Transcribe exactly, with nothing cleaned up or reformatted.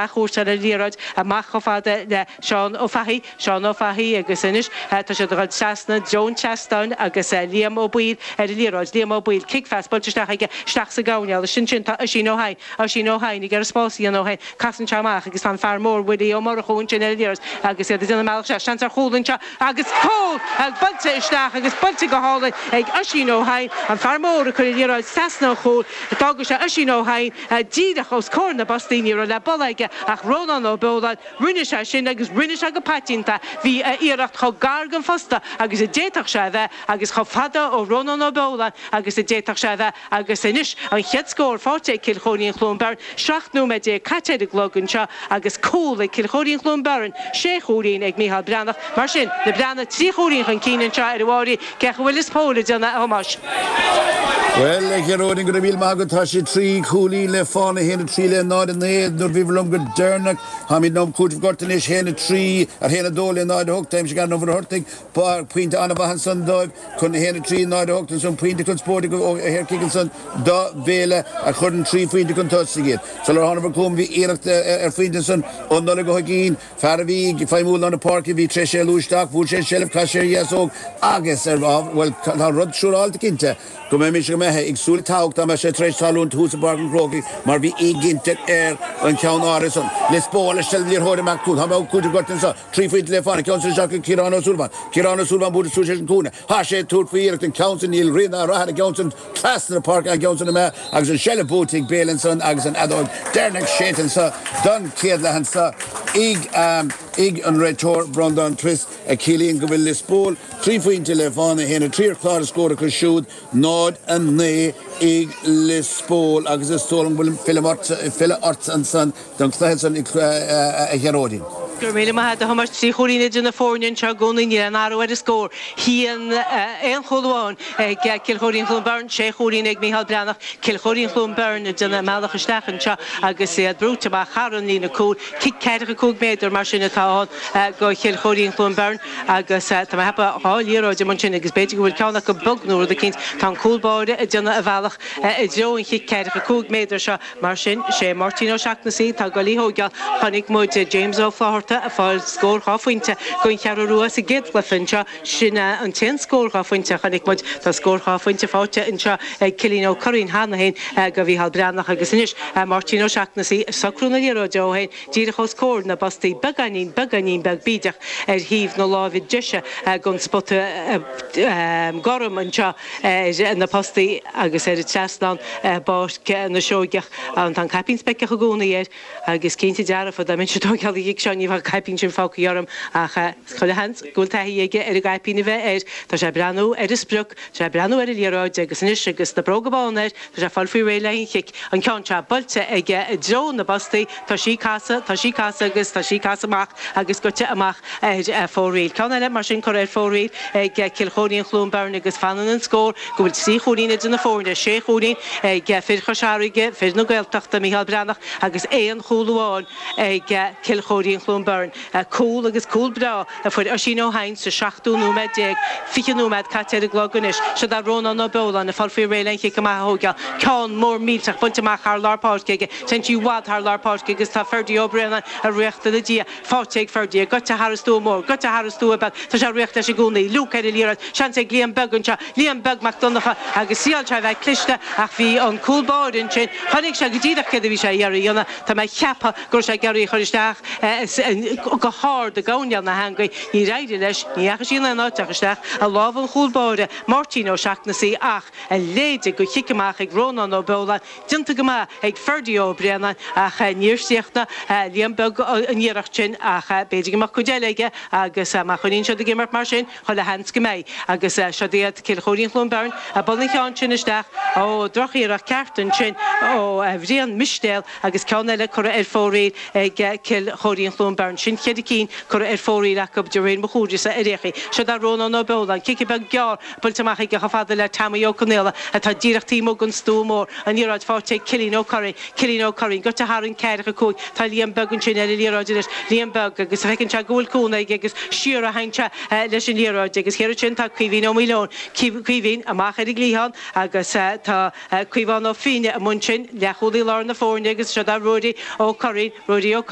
Chuaigh ar an liathróid amach chomh fada le Seán Ó Fathaigh, Seán Ó Fathaigh agus anois tá siad ag dul trasna Joan Chastain agus Liam Ó Baoill ar an liathróid, Liam Ó Baoill, cic phas buailte isteach aige isteach sa gcoirnéal, sin sin tá Oisín Ó hEidhin, Oisín Ó hEidhin ag iarraidh spás a dhéanamh dó féin, casann sé amach agus tá an fear mór Willie Ó Murchú ansin ar an liathróid agus iad ag déanamh a mbealach isteach, seans ar chúl anseo agus cúl buailte isteach agus buailte go hálainn ag Oisín Ó hEidhin, an fear mór a chuir an liathróid trasna an chúil, d'fhága sé Oisín Ó hEidhin díreach os comhair na bpostaí, ní raibh le bualadh aige ach Rónán Ó Beoláin, rinne sé sin agus rinne sé go paiteanta, bhí a iarracht chomh gar don phosta agus a d'fhéadfadh sé a bheith agus chomh fada ó Rónán Ó Beoláin agus a d'fhéadfadh sé a bheith agus anois an chéad scór faighte ag Cill Chóirín Chluain Bheirn, seacht nóiméad déag caite ar an gclog anseo agus cúl ag Cill Chóirín Chluain Bheirn, sé chúilín ag Mícheál Breathnach. Mar sin, na Breathnaigh trí chúilín chun cinn anseo ar an Mháirín, cén chaoi a bhfuil Lios Póil ag déanamh, a Thomáis? Bhuel, a Ghearóidín, go raibh míle maith agat. Tá sé trí chúilín le fána, a haon a trí le náid a naoi nuair a bhíobhair liom go deireanach. Táimid in am cúitimh gorta anois, a haon a trí ar a haon a dó le náid a hocht. Aimsigh Aaron Ó Muircheartaigh pointe an-mhaith ansan dóibh chun a haon a trí, náid a hocht ansan, pointe conspóideach ó shaorchic ansan do Bhéile a chuireann trí phointe chun tosaigh iad. Sular thánabhair chugam bhí iarracht ar phointe ansan ó Nollaig Ó hUiginn, fear a bhí ag feidhmiú i lár na páirce, bhí tar éis éalú isteach, bhuail sé an tseilbh, chas sé ar dheasóg agus ar, bhuel, tá rud siúráilte cinnte go mbeidh mise, go mbeifeá ag súil le togha dá mbeadh sé tar éis tarlúint thuas i bPáirc an Chrócaigh mar bhí éiginnteacht ar an cheann áirithe san. Lios Póil leis seilbh liathróide amach cúl. Tá mé ag cúiteamh gorta anseo. Trí phointe le fána. Ceann san isteach ag Ciarán Ó Súilleabháin. Ciarán Ó Súilleabháin buailte suas leis an cúinne. Tá sé ag tabhairt faoi iarracht an ceann san. Níl rian ná rath ar an gceann san trasna na páirce an ceann san imithe agus an seilbh buaite ag Béal ansan agus an fheadóg deireanach séidte anseo don chéad leath anseo ag ag an réiteoir Breandán Twiss a chiallaíonn go bhfuil Lios Póil trí phointe le fána, a haon a trí ar chlár na scór acu siúd, náid a naoi ag Lios Póil agus is dóigh liom go bhfuil filleadh ort ansan don chluiche san a Ghearóidín. Go raibh míle maith agat, a Thomáis. Trí chúilín idir na foirne anseo i gcónaí, níl aon athrú ar an scór. Haon, aon chúl amháin ag Cill Chóirín Chluain Bheirn, sé chúilín ag Mícheál Breathnach. Cill Chóirín Chluain Bheirn ag déanamh a mbealach isteach anseo agus iad brúite amach thar an líne cúil. Cic ceathracha cúig méadar mar sin atá ann do Chill Chóirín Chluain Bheirn agus tá mé ag ceapadh dhá liathróid amuigh ansin agus b'fhéidir go bhfuil ceann acu bog nó rud eicínt. Tá an cúl báire ag déanamh a bhealach i dtreo an chic ceathracha cúig méadar seo. Mar sin, sé Máirtín Ó Seachnasaigh atá ag dul í thóigeáil. Chonaic muid James Ó Flatharta ag fáil scór dhá phointe don Cheathrú Rua sa gcéad chluiche anseo. Sin an t-aon scór dhá phointe a chonaic muid. Tá scór dhá phointe faighte anseo ag Cillian Ó Curraoin cheana féin do Mhícheál Breathnach agus anois Máirtín Ó Seachnasaigh ag socrú na liathróide dó féin díreach os comhair na bpostaí beagáinín, beagáinín beag bídeach ar thaobh na láimhe deise den spota gorm anseo ar na postaí agus ar an trasnán i bPáirc na Seoigeach. Tá an caipín speiceach i gcónaí air agus cinnte dearfa dá mbeinnse ag tógáil an chic seo ní bheadh an caipín sin fágtha orm ach chuile sheans go bhfuil taithí aige ar an gcaipín a bheith air. Tá sé ag breathnú ar an sprioc, tá sé ag breathnú ar an liathróid agus anois agus na bróga bána air tá sé ag fáil faoi réidh le an chic. An ceann seo buailte aige i dtreo na bpostaí, tá sí ag casadh, tá sí ag casadh agus tá sí ag casadh amach agus goite amach ar fóraoil. Ceann eile mar sin curtha ar fóraoil ag Cill Chóirín Chluain Bheirn agus fanann an scór go bhfuil trí chúilín idir na foirne, sé chúilín ag fir Chois Fharraige, fir na Gaeltachta, Mícheál Breathnach agus aon chúl amháin ag Cill Chóirín Chluain Bheirn. Cúl agus cúl breá a fuair Oisín Ó hEidhin sa seachtú nóiméad déag, fiche nóiméad caite ar an gclog anois. Siod é Rónán Ó Beoláin ag fáil faoi réidh le an chic amach a thóigeáil. Ceann mór millteach bainte amach thar lár páirce aige. Téann sí i bhfad thar lár páirce agus tá Ferdie Ó Braonáin ag ritheacht ina diaidh. Faighte ag Ferdie, goite thar an stua mór, goite thar an stua beag, tá sé ag ritheacht leis i gcónaí. Luke ar an liathróid, seans ag Liam Beag anseo, Liam Beag Mac Donncha agus thriail sé a bheith cliste ach bhí an cúl báire ansin, chonaic sé go díreach céard a bhí sé ag iarraidh a dhéanamh. Tá mé ag ceapadh go raibh sé ag iarraidh í a chur isteach go hard i gcoirnéal na heangaí. Níor éirigh leis, ní dheachaigh sí in aon áit ach isteach i lámha an chúl báire, Máirtín Ó Seachnasaigh ach a leithéid de chic amach ag Rónán Ó Beoláin, déanta go maith ag Ferdie Ó Braonáin ach níor chríochnaigh Liam Beag an iarracht sin ach b'fhéidir go mbeadh cuid eile aige agus má choinníonn siad ag imirt mar sin, chuile sheans go mbeidh. Agus siod iad Cill Chóirín Chluain Bheirn ag bualadh an cheann sin isteach. Ó, drochiarracht ceart ansin ó Bhrian Mistéal agus ceann eile curtha ar fóraoil ag Cill Chóirín Chluain. Beirn. Sin ceithre cinn curtha ar fóraoil acu de réir mo chuntais-sa ar aon chaoi. Seo do Rónán Ó Beoláin, cic beag gearr buailte amach aige chomh fada le Tommy Ó Conaola atá díreach taobh amuigh den stua mór. An liathróid faighte ag Cillian Ó Curraoin. Cillian Ó Curraoin, goite thar an ceathracha cúig. Tá Liam Beag ansin ar an liathróid anois. Liam Beag agus feiceann sé go bhfuil cúnamh aige agus siar a théann sé leis an liathróid agus thiar ansin tá Caoimhín Ó Maoileoin. Caoimhín amach ar an gcliathán agus tá Caomhán Ó Fiaine amuigh ansin, leathchúlaí lár na foirne agus seo do Ruairí Ó Curraoin. Ruairí Ó Curraoin.